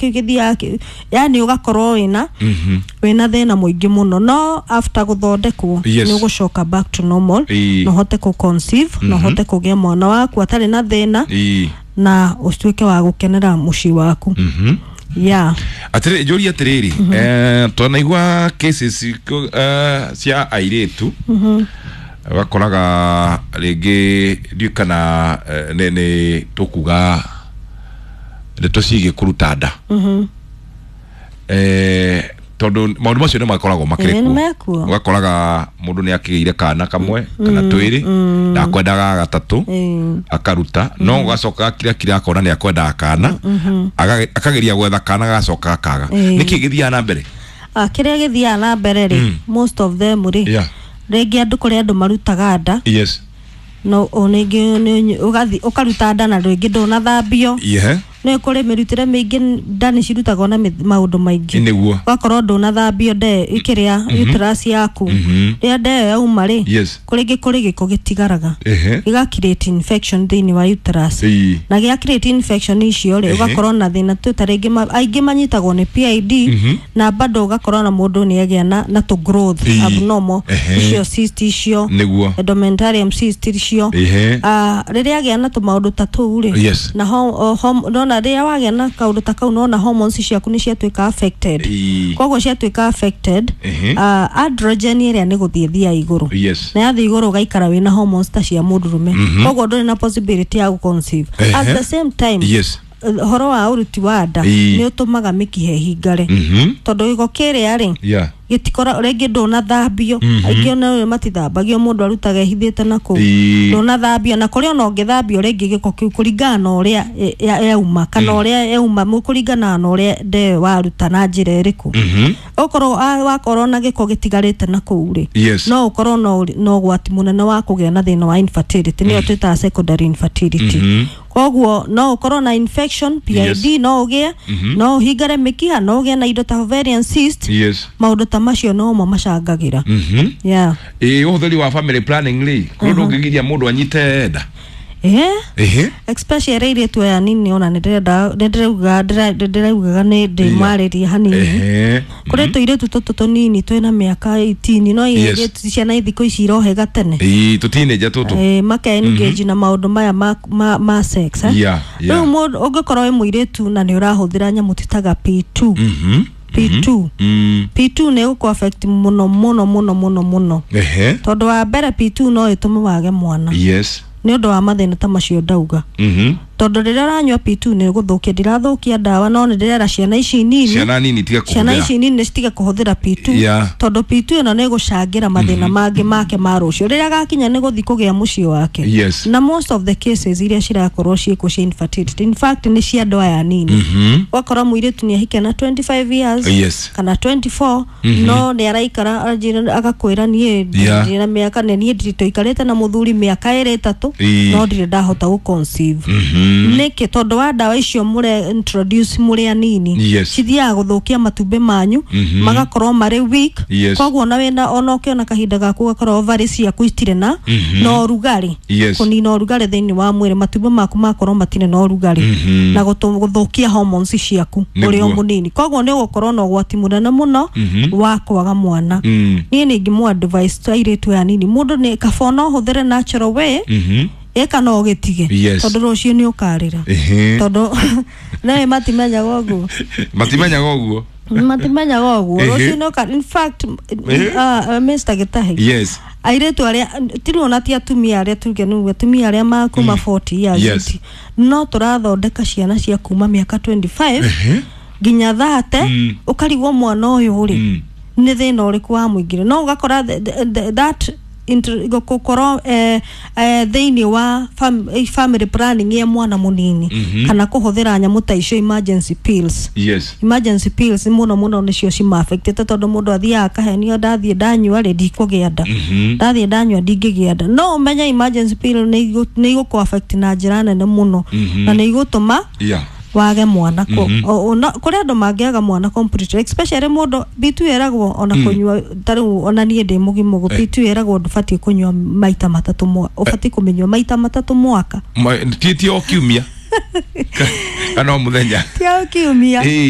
kĩu gĩthiaga yani ũgakorwo wĩna wĩna thĩna mũingĩ mũno, no after gũthondekwo nĩ ũgũcoka back to normal na ũhote kũ conceive na ũhote kũgĩa mwana waku atarĩ na thĩna na ũtuĩke wa gũkenera mũciĩ waku. Yeah. Atirĩ njũrie atĩrĩrĩ, twanaigua cases cia airĩtu, ũgakoraga rĩngĩ ndiũĩ kana nĩ tũkuga ndeto ciĩgiĩ kũruta nda, tondũ maũndũ macio nĩ makoragwo makĩrĩ Ĩĩ, kuo. nĩ mekuo. Ũgakoraga mũndũ nĩ akĩgĩire kana kamwe kana twĩrĩ, ndakwendaga gatatũ, akaruta, no ũgacoka akira kira akona nĩ akwendaga kana, akageria gwetha kana, gagacoka gakaga. Nĩkĩ gĩthiaga na mbere? Ah, kĩrĩa gĩthiaga na mbere rĩ, most of them rĩ, rĩngĩ andũ, kũrĩ andũ marutaga nda, no o rĩngĩ ũgathiĩ ũkaruta nda na rĩngĩ ndũnathambio. Nĩ kũrĩ mĩrutĩre mĩingĩ, nda nĩ cirutagwo na maũndũ maingĩ. Ũgakorwo ndũnathambio nde kĩrĩa uterus yaku. Rĩrĩa nda ĩyo yauma rĩ, kũrĩngĩ kũrĩ gĩko gĩtigaraga, gĩga create infection thĩinĩ wa uterus, na gĩa create infection icio rĩ, ũgakorwo na thĩna tu ta rĩngĩ aingĩ manyitagwo nĩ PID, na bado ũgakorwo na mũndũ nĩ agĩa na tũ growth abnormal, icio cyst icio, endometrium cyst icio. Ah, rĩrĩa agĩa na tũmaũndũ ta tũu rĩ, na nona rĩrĩa wagĩa na kaũndũ ta kau, nona hormones ciaku nĩ ciatuĩka affected. Koguo ciatuĩka affected, androgen ĩrĩa nĩ gũthiĩ thia igũrũ, na yathiĩ igũrũ ũgaikara wĩna hormones ta cia mũndũrũme, koguo ndũrĩ na possibility ya gũconceive. At the same time, ũhoro wa ũruti wa nda nĩ ũtũmaga mĩkiha ĩhingare, tondũ gĩko kĩrĩa rĩ, gĩtikora rĩngĩ ndũnathambio. Aingĩ ona matithambagio, mũndũ arutaga ehithĩte na kũu. Ndũnathambio, na kũrĩ ona ũngĩthambio rĩngĩ gĩko kĩu kũringana na ũrĩa yauma kana ũrĩa yauma, kũringana na ũrĩa nda ĩyo waruta na njĩra ĩrĩkũ. Okorwo wakorwo na gĩko gĩtigarĩte na kũu rĩ, no ũkorwo na ũgwati mũnene wa kũgĩa na thĩna wa infertility, nĩyo twĩtaga secondary infertility. Koguo no ũkorwo na infection, PID, no ũgĩe, no ũhingare mĩkiha, no ũgĩe na indo ta ovarian cyst. Maũndũ ta macio nomo macangagĩra. Yeah. Ĩ ũhũthĩri wa family planning rĩ, kũrĩ ũndũ ũngĩgiria mũndũ anyite nda? Especially airĩtu aya nini, ona nĩndĩrenda nĩndĩrauga ndĩraugaga nĩ ndĩmarĩrie hanini. Kũrĩ tũirĩtu tũtũ tũnini twĩna mĩaka 18, no airĩtu ciana thikũ ici irohega tene. Ĩĩ, tũteenager tũtũ. Maka engage na maũndũ maya ma sex, eh? Yeah. Rĩu mũndũ ũngĩkorwo wĩ mũirĩtu na nĩ ũrahũthĩra nyamũ titaga P2, P2, P2 nĩ ĩgũkũ affect mũno mũno mũno mũno mũno, tondũ wa mbere P2 no ĩtũme wage mwana nĩ ũndũ wa mathĩna ta macio ndauga, tondũ rĩrĩa ũranyua P2 nĩ ũgũthũkia, ndirathũkia ndawa, no nĩ ndĩrera ciana ici nini, Ciana nini tiga ciana kũhũthĩra. Ici nini citige kũhũthĩra P2, tondũ P2 ĩno nĩ ĩgũcangĩra mathĩna mangĩ make ma rũciũ rĩrĩa agakinya nĩ gũthiĩ kũgĩa mũciĩ wake. Na most of the cases iria cirakorwo ciĩkuo cia infertility, in fact, nĩ cia andũ aya nini. Ũgakora mũirĩtu nĩ ahikia na 25 years kana 24, no nĩ araikara agakwĩra, niĩ ndirĩ na mĩaka, nĩ niĩ ndirĩ tũikarĩte na mũthuri mĩaka 2, 3, no ndirĩ ndahota gũ conceive. Nĩkĩ? Tondũ wa ndawa icio mũre introduce mũrĩ anini. Cithiaga gũthũkia matumbĩ manyu, magakorwo marĩ weak. Koguo ona wĩna ona ũkĩona kahinda gaku, ũgakorwo ovaries ciaku itirĩ na ũrugarĩ. Kũnina ũrugarĩ thĩinĩ wa mwĩrĩ, matumbĩ maku makorwo matirĩ na ũrugarĩ na gũthũkia hormones ciaku ũrĩ o mũnini, koguo nĩ ũgũkorwo na ũgwati mũnene mũno wa kwaga mwana. Niĩ nĩ ingĩmũ advice airĩtu aya nini, mũndũ nĩ kaba ona ũhũthĩre natural way, ĩka no ũgĩtige, tondũ rũciũ nĩ ũkarĩra, tondũ nawe matimenyaga ũguo. Matimenyaga ũguo. Matimenyaga ũguo. Rũciũ nĩ ũka, in fact, Mr. Gĩtahi, airĩtu arĩa tirĩ ona ti atumia arĩa tuge nĩguo atumia arĩa makuma 40 years, no tũrathondeka ciana cia kuma mĩaka 25 nginya 30. Ũkarigwo mwana ũyũ rĩ, nĩ thĩna ũrĩkũ wa mũingĩre, no ũgakora that gũkorwo thĩinĩ wa family planning ya mwana mũnini kana kũhũthĩra nyamũ ta icio, emergency pills. Emergency pills mũno mũno nĩcio cima-affectĩte, tondũ mũndũ athiaga akahenio, ndathiĩ ndanyua rĩ, ndikũgĩa nda, ndathiĩ ndanyua ndingĩgĩa nda. No ũmenye emergency pill nĩ igũkũ affect na njĩra nene mũno na nĩ igũtũma wage mwana. Kũrĩ andũ mangĩaga mwana completely, especially mũndũ P2 ĩragwo ona kũnyua, ta rĩu ona niĩ ndĩ mũgima ũguo, P2 ĩragwo ndũbatiĩ kũnyua maita matatũ ũbatiĩ kũmĩnyua maita matatũ mwaka. Ti o kiumia kana o mũthenya? Ti o kiumia.